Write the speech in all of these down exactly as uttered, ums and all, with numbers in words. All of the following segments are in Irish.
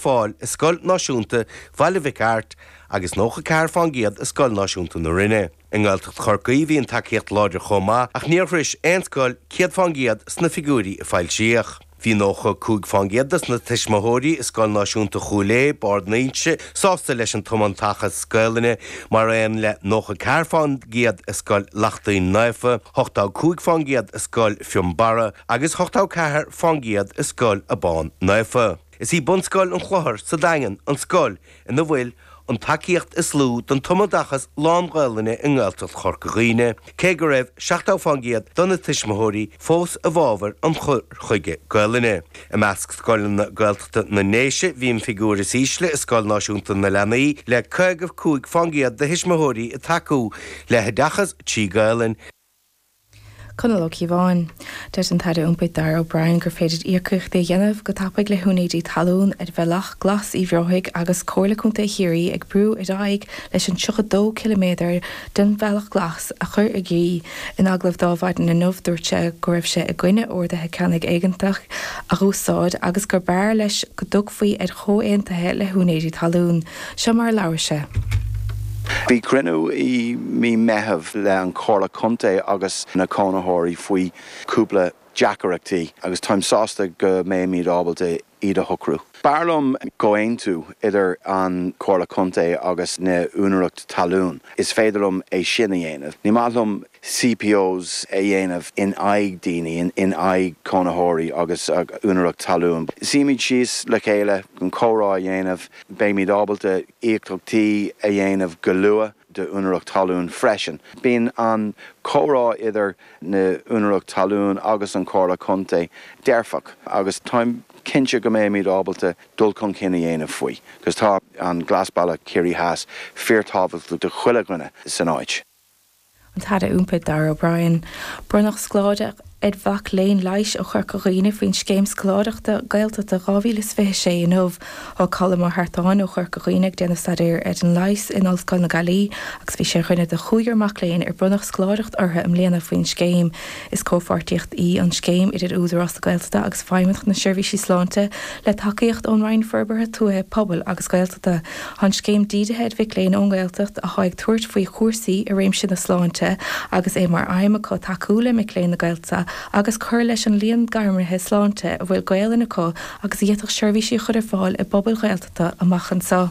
fáil i Scoil Náisiúnta Bhaile Mhic Airt agus nócha ceathair faoin gcéad i Scoil Náisiúnta na Rinne. I nGaeltacht Chorcaí bhí an tacaíocht láidir chomh maith ach níor shroich aon scoil céad faoin gcéad sna figiúirí a foilsíodh. Bhí nócha cúig faoin gcéad de na tuismitheoirí i Scoil Náisiúnta Chúil Aodha Barr na hInse sásta leis an tumoideachas Gaelainne mar aon le nócha ceathair faoin gcéad i Scoil Lachtaín Naofa, ochtó cúig faoin gcéad i Scoil Fionnbarra agus ochtó ceathair faoin gcéad i Scoil Abán Naofa. Is í Bunscoil an Chlochair sa Daingean an scoil ina bhfuil an tacaíocht is lú don tumoideachas lán-Ghaelainne i nGaeltacht Chorca Dhuibhne, cé go raibh seachtó faoin gcéad de na tuismitheoirí fós i bhfabhar an chur chuige Gaelainne. I measc scoileanna Gaeltachta na nDéise bhí an figiúr is ísle i Scoil Náisiúnta na Leanaí le caoga cúig faoin gcéad de thuismitheoirí ag tacú le hoideachas trí Ghaelainn. Conall Ó Cíobháin. Deir an tAire Iompair Darragh O'Brien gur féidir íocaíochtaí a dhéanamh go tapaidh le húinéirí talún ar Bhealach Glas Uí Bhreoigh agus Comhairle Contae Chiarraí ag brú ar aghaidh leis an tríocha dó ciliméadar den Bhealach Glas a chur i gcrích. In agallamh do Adhmhaidin inniu dúirt sé go raibh sé i gcoinne orduithe ceannaigh éigeantach a úsáid agus gur b'fhearr leis go dtiocfaí ar chomhaontuithe le húinéirí talún. Seo mar labhair sé. Bhí cruinniú i mí Meitheamh le an Comhairle Contae agus na cónaitheoirí faoi cúpla deacrachtaí agus táim sásta go mbeimid ábalta iad a shocrú. B'fhearr liom comhaontú idir an Comhairle Contae agus na úinéirí talún. Is féidir liom é sin a dhéanamh. Ní maith liom CPOs a dhéanamh in aghaidh daoine in aghaidh cónaitheoirí agus úinéirí talún. Suímid síos le chéile an comhrá a dhéanamh, beimid ábalta íocaíochtaí a dhéanamh go luath do úinéirí talún freisin. Bíonn an comhrá idir na úinéirí talún agus an Comhairle Contae dearfach agus táim cinnte go mbeimid ábalta dul chun cinn a dhéanamh faoi, 'cause tá an Glasbhealach Ciarraí Theas fíorthábhachtach do chuile dhuine san áit. An tAire Iompair Darragh O'Brien. Bronnadh scoláireacht ar mhac léinn leighis ó Chorca Dhuibhne faoin scéim scoláireachta Gaeltachta dhá mhíle is fiche sé inniu. Tá Colm Ó hArtáin ó Chorca Dhuibhne ag déanamh staidéir ar an leigheas in Ollscoil na Gaillimhe agus bhí sé ar dhuine de chúigear mac léinn ar bronnadh scoláireacht orthu i mbliana faoin scéim. Is comhpháirtíocht í an scéim idir Údarás na Gaeltachta agus Feidhmeannacht na Seirbhísí Sláinte le tacaíocht ón Roinn Forbartha Tuaithe Pobail agus Gaeltachta. Tá an scéim dírithe ar mhic léinn ón nGaeltacht atá ag tabhairt faoi chúrsaí i réimse na sláinte agus é mar aidhm acu tacú le mic léinn na Gaeltachta agus cur leis an líon gairmithe sláinte a bhfuil Gaelainn acu agus a d'fhéadfadh seirbhísí a chur ar fáil i bpobail Ghaeltachta amach anseo.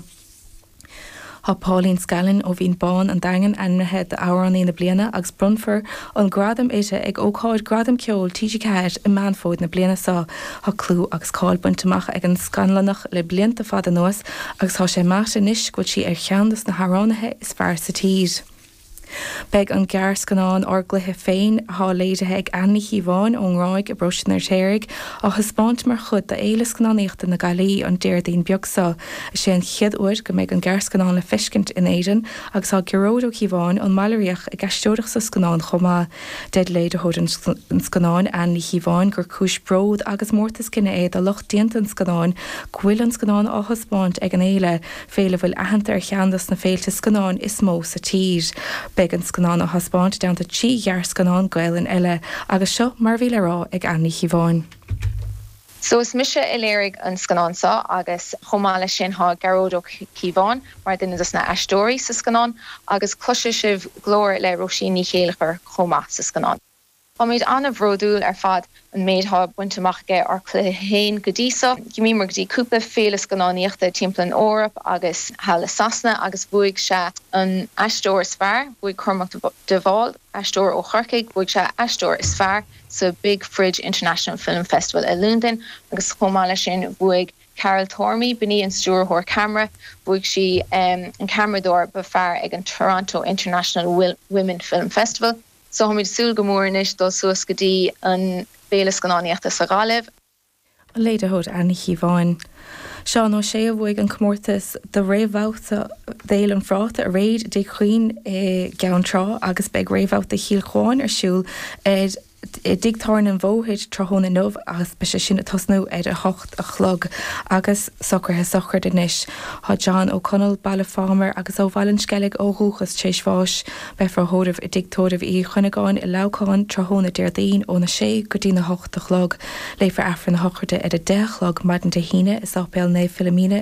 Tá Pauline Scallon ó Bhinn Bán an Daingean ainmnithe d'amhránaí na bliana agus bronnfar an gradam uirthi ag ócáid Gradam Ceoil TG Ceathair i Meán Fómhair na bliana seo. Tá clú agus cáil bainte amach ag an Scannalach le blianta fada anuas agus tá sé measta anois go bhfuil sí ar cheann de na hamhránaithe is fearr sa tír. Beidh an gearrscannán Ár gCluiche Féin atá léirithe ag Anne Ní Chíobháin ón nGráig i bparóiste an Fheirtéaraigh á thaispeáint mar chuid d'Fhéile Scannánaíochta na Gaillimhe an Déardaoin beag seo. Is é an chéad uair go mbeidh an gearrscannán le feiscint in Éirinn agus tá Gearóid Ó Cíobháin ón mBaile Riach ag aisteoireacht sa scannán chomh maith. Deir léiritheoir an scannáin Anne Ní Chíobháin gur cúis bród agus mórtas cine é do lucht déanta an scannáin go bhfuil an scannán á thaispeáint ag an fhéile, féile a bhfuil aitheanta ar cheann de na féilte scannáin is mó sa tír. Beidh an scannán á thaispeáint i dteannta trí ghearrscannán Gaelainne eile agus seo mar bhí le rá ag Anne Ní Chíobháin. So is mise a léirigh an scannán seo agus chomh maith leis sin tá Gearóid Ó Cíobháin mar duine de na aisteoirí sa scannán agus cloisfidh sibh glór le Róisín Ní Chéilleachair chomh maith sa scannán. Táimid an-bhródúil ar fad an méid atá bainte amach aige Ár gCluiche Féin go dtí seo. D'imigh go dtí cúpla féile scannánaíochta timpeall an Eoraip agus thall i Sasana agus bhuaigh sé an aisteoir is fearr, bhuaigh Cormac de Bhál, aisteoir ó Chorcaigh, bhuaigh sé aisteoir is fearr sa Big Fridge International Film Festival i Londain agus chomh maith leis sin bhuaigh Carol Tormey b'in í an stiúrthóir ceamara, bhuaigh sí um, an ceamaradóir ba fearr ag an Toronto International Women Film Festival. So táimid súil go mór anois dul suas go dtí an bhféile scannánaíochta sa Ghaillimh. An léiritheoir Anne Ní Chíobháin. Seán Ó Sé a bhuaigh an comórtas do réamhbhabhta d'Fhéile an Phráta aréir i dTigh Chuinn i gCeann Trá agus beidh réamhbhabhta Chill Chuáin ar siúl ar i dTigh Tábhairne an Bhóthair tráthnóna inniu agus beidh sé sin ag tosnú ar a hocht a chlog agus socruithe sochraide anois. Tá John Ó Conaill Baile Phámar agus ó Bhaile an Sceilg ó dhúchas tar éis bháis. Beifear á thórramh i dTigh Tórraimh Uí Chuinneagáin i Leamhcán tráthnóna Déardaoin óna sé go dtí na hocht a chlog. Léifear Aifreann na sochraide ar a deich a chlog maidin Dé hAoine i Sáipéal Naomh Philomena